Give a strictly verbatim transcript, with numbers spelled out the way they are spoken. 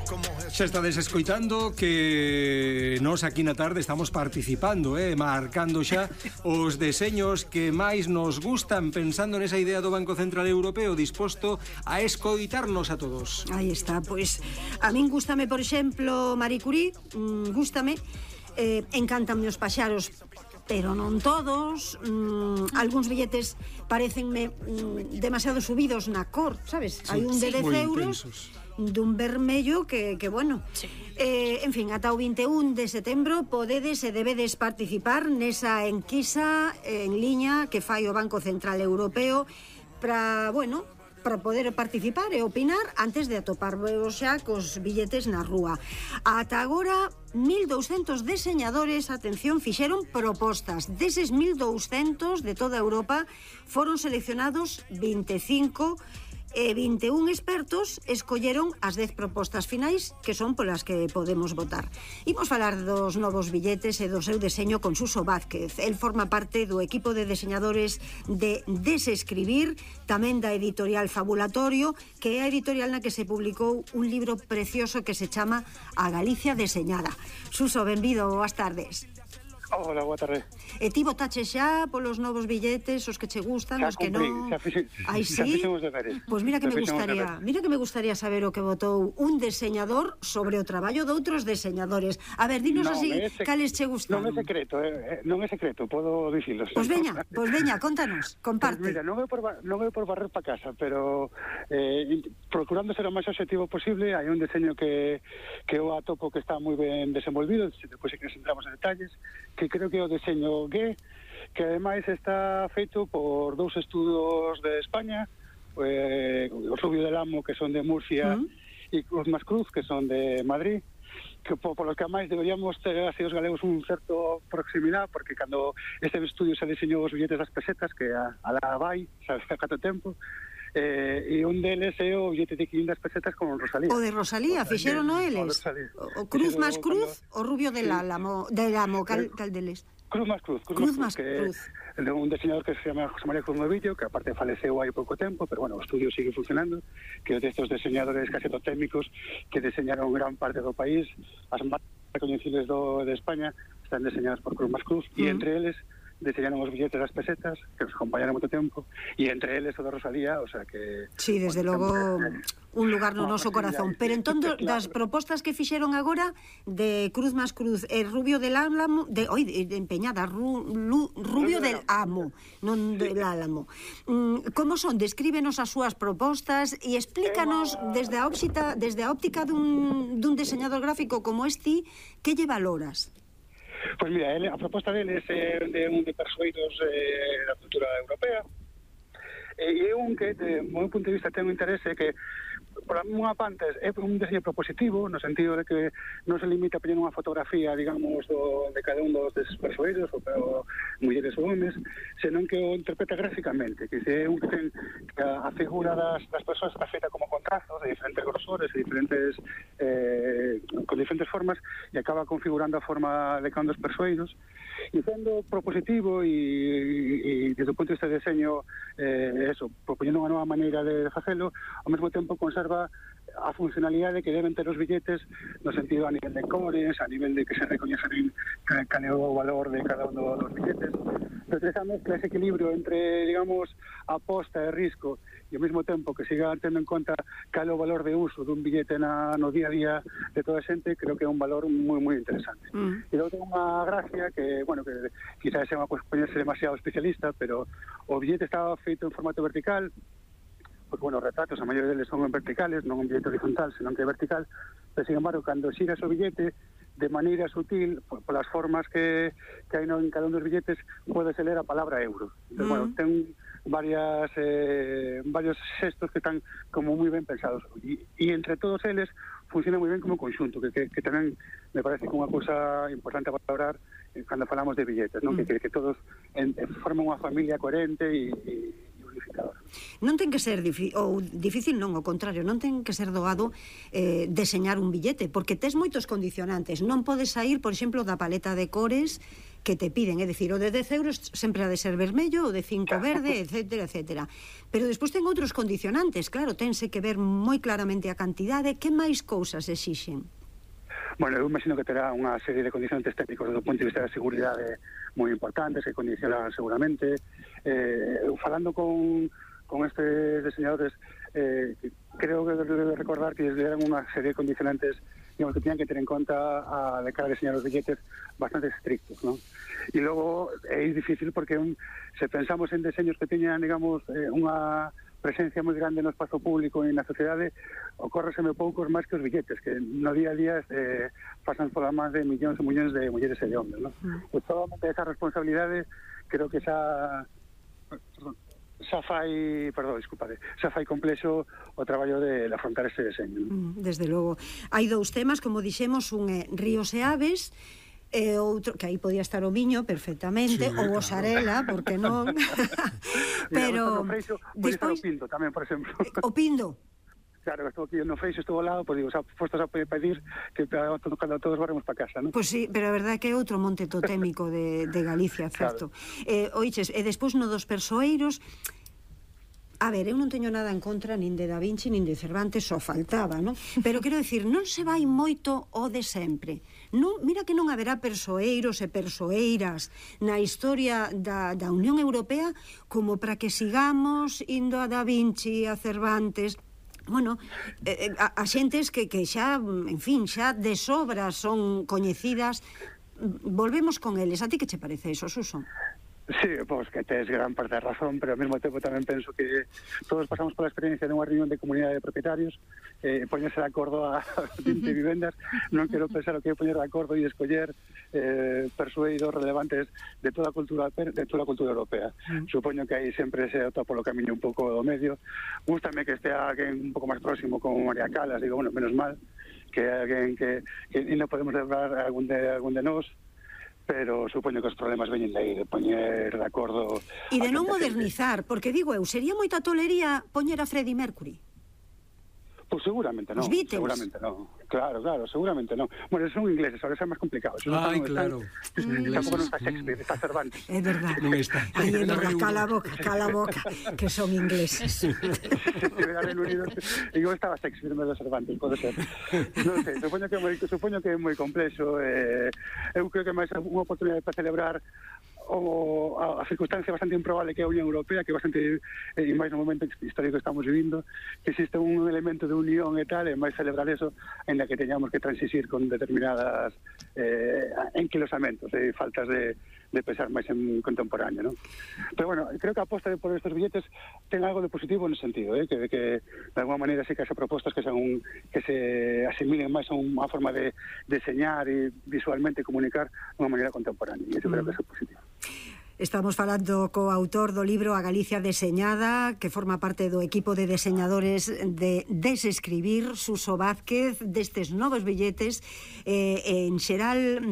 Xa estades escoitando que nós aquí na tarde estamos participando, eh, marcando xa os deseños que máis nos gustan, pensando nesa idea do Banco Central Europeo disposto a escoitarnos a todos. Aí está, pois a min gústame, por exemplo, Marie Curie, mmm, gústame, eh, encántanme os paxaros, pero non todos. mm, Algúns billetes parecenme mm, demasiado subidos na cor, sabes? Sí, hai un de sí, dez euros dun vermello que, que bueno, sí. eh, en fin, ata o vinte e un de setembro podedes e debedes participar nesa enquisa en liña que fai o Banco Central Europeo para, bueno, para poder participar e opinar antes de atoparvos xa cos billetes na rúa. Ata agora, mil douscentos deseñadores, atención, fixeron propostas. Deses mil douscentos de toda Europa foron seleccionados vinte e cinco e vinte e un expertos escolleron as dez propostas finais que son polas que podemos votar. Imos falar dos novos billetes e do seu deseño con Suso Vázquez. El forma parte do equipo de deseñadores de Desescribir, tamén da editorial Fabulatorio, que é a editorial na que se publicou un libro precioso que se chama A Galicia Deseñada. Suso, benvido, boas tardes. Hola, boa tarde. E ti votache xa polos novos billetes, os que che gustan, xa os que cumprí, non? Xa fixen, Ai, xa sí? fixen os deberes. Pois mira que Xa me fixen os gustaría, deberes. mira que me gustaría saber o que votou un deseñador sobre o traballo de outros deseñadores. A ver, dinos Non, así, é sec- cales che gustan. Non é secreto, eh, eh, non é secreto, podo dicilo. Pois veña, pois veña, contanos, comparte. Pues mira, non é por, ba- non é por barrer pa casa, pero eh, procurando ser o máis objetivo posible, hai un deseño que, que eu atopo que está moi ben desenvolvido, depois que nos entramos en detalles, que creo que é o deseño G, que ademais está feito por dous estudos de España, eh, o Rubio del Amo, que son de Murcia, uh-huh. e Cruz más Cruz, que son de Madrid, que por, por lo que máis deberíamos ter así os galegos un certo proximidade, porque cando este estudio se diseñou os billetes das pesetas, que a, a la vai, sabe, a cato tempo, eh, e un deles é o billete de quinhentas pesetas con Rosalía. O de Rosalía, fixeron o eles? O, o Cruz más Cruz, o Rubio del Álamo, del Amo, cal, cal deles? Cruz más Cruz, Cruz, Cruz más más Cruz, Cruz. Que é un diseñador que se llama José María Cruz Novillo, que aparte faleceu hai pouco tempo, pero bueno, o estudio sigue funcionando, que é destes diseñadores casi totémicos que diseñaron gran parte do país. As máis recoñecibles do, de España están diseñadas por Cruz más Cruz, e uh-huh. entre eles diseñaron os billetes das pesetas, que nos acompañaron moito tempo, e entre eles o de Rosalía, o sea que... Sí, desde bueno, logo, sempre, un lugar no no, noso pues, corazón. ya, Pero entón, claro. das propostas que fixeron agora de Cruz más Cruz e Rubio del Álamo, de, oi, de empeñada, Ru, Lu, Rubio del Amo, non del Álamo. Mm, como son? Descríbenos as súas propostas e explícanos desde a óptica, desde a óptica dun, dun diseñador gráfico como este, que lle valoras? Pois mira, ele, a proposta dele é de un de persueidos eh, da cultura europea, e é un que, de meu punto de vista, ten un interese que, por unha parte, é un diseño propositivo, no sentido de que non se limita a poñer unha fotografía, digamos, do, de cada un dos deses persueidos, ou, ou mulleres ou homes, senón que o interpreta gráficamente, que é un que ten que a, a figura das, das persoas está feita como contrastos, de diferentes grosores, de diferentes eh, con diferentes formas, e acaba configurando a forma de cada un dos persueidos, e sendo propositivo e, e, e desde o punto de vista de diseño eh, eso, propoñendo unha nova maneira de facelo, ao mesmo tempo conserva a funcionalidade que deben ter os billetes no sentido a nivel de cores, a nivel de que se recoñecen cal é o valor de cada un dos billetes. Pero esa mezcla, ese equilibrio entre, digamos, aposta e risco e ao mesmo tempo que siga tendo en conta cal é o valor de uso dun billete na, no día a día de toda a xente, creo que é un valor moi, moi interesante. Mm. E logo ten unha gracia que, bueno, que quizás é unha cosa poñerse demasiado especialista, pero o billete estaba feito en formato vertical, porque, bueno, os retratos, a maioría deles son en verticales, non un billete horizontal, senón que é vertical, pero, sin embargo, cando xiras o billete, de maneira sutil, por, por as formas que, que hai no, en cada un dos billetes, podese ler a palabra euro. Entón, mm. bueno, ten varias eh, varios xestos que están como moi ben pensados. E, e entre todos eles, funciona moi ben como conxunto, que, que, que tamén me parece que unha cousa importante a valorar eh, cando falamos de billetes, non? Mm. Que, que, que todos en, en forman unha familia coherente e, e non ten que ser difícil, ou difícil non, ao contrario, non ten que ser doado eh, deseñar un billete, porque tes moitos condicionantes. Non podes sair, por exemplo, da paleta de cores que te piden, é dicir, o de dez euros sempre ha de ser vermello, o de cinco verde, etcétera, etcétera. Pero despois ten outros condicionantes, claro, tense que ver moi claramente a cantidade. Que máis cousas exixen? Bueno, eu imagino que terá unha serie de condicionantes técnicos do punto de vista da seguridade moi importantes que condicionan seguramente. Eh, falando con, con estes diseñadores, eh, creo que debe recordar que les deran unha serie de condicionantes, digamos, que tenían que ter en conta a de cara a diseñar os billetes bastante estrictos, ¿no? E logo é difícil porque un, se pensamos en diseños que teñan, digamos, eh, unha presencia moi grande no espazo público e na sociedade, ocórreseme poucos máis que os billetes, que no día a día eh, pasan pola máis de millóns e millóns de mulleres e de hombres, ¿no? Mm. Pues solamente esa responsabilidade creo que xa perdón, xa fai, perdón, disculpade, xa fai complexo o traballo de afrontar ese deseño, ¿no? Desde logo. Hai dous temas, como dixemos, un é ríos e aves, e outro, que aí podía estar o viño perfectamente, sí, ou o xarela, porque non? Pero Freixo, despois o pindo tamén, por exemplo. O pindo. Claro, estou aquí no Freixo, estou ao lado, pois digo, xa postos a pedir que cando todos varemos para casa, non? Pois sí, pero a verdade é que é outro monte totémico de, de Galicia, certo? Claro. Eh, oiches, e despois no dos persoeiros, a ver, eu non teño nada en contra nin de Da Vinci nin de Cervantes, só faltaba, non? Pero quero dicir, non se vai moito o de sempre. Non, mira que non haberá persoeiros e persoeiras na historia da, da Unión Europea como para que sigamos indo a Da Vinci, a Cervantes. Bueno, eh, a, a xentes que, que xa, en fin, xa de sobra son coñecidas. Volvemos con eles. A ti que che parece eso, Suso? Sí, pois que tes gran parte da razón, pero ao mesmo tempo tamén penso que todos pasamos pola experiencia dunha reunión de comunidade de propietarios, eh, poñerse de acordo a vinte vivendas, non quero pensar o que é poñer de acordo e escoller eh, persueidos relevantes de toda a cultura de toda a cultura europea. Mm. Supoño que aí sempre se atopa polo camiño un pouco do medio. Gústame que estea alguén un pouco máis próximo como María Calas, digo, bueno, menos mal que alguén que, que non podemos lembrar algún de, algún de nós, pero supoño que os problemas veñen de aí, de poñer de acordo... E de non modernizar, porque digo eu, sería moita tolería poñer a Freddie Mercury? Pois seguramente non, seguramente non. Claro, claro, seguramente non. Bueno, son ingleses, ahora é máis complicado. Ai, claro. Tampouco non está Shakespeare, está Cervantes. É verdad. Non está. Ai, é verdad, cala a boca, cala a boca, que son ingleses. Se estivera Reino Unido, eu estaba Shakespeare en vez de Cervantes, pode ser. Non sei, supoño que é moi, supoño que é moi complexo. Eh, eu creo que máis unha oportunidade para celebrar o, a, a circunstancia bastante improbable que é a Unión Europea, que é bastante, e máis no momento histórico que estamos vivindo, que existe un elemento de unión e tal, e máis celebrar eso, en la que teñamos que transisir con determinadas eh, enquilosamentos e faltas de, de pensar máis en contemporáneo, ¿no? Pero bueno, creo que a aposta por estos billetes ten algo de positivo en ese sentido, ¿eh? que, que de alguna maneira sí que haxe propostas que, son, que se asimilen máis a unha forma de deseñar e visualmente comunicar de unha maneira contemporánea, e eso mm. creo que é positivo. Estamos falando co autor do libro A Galicia Deseñada, que forma parte do equipo de deseñadores de Desescribir, Suso Vázquez, destes novos billetes, eh, en xeral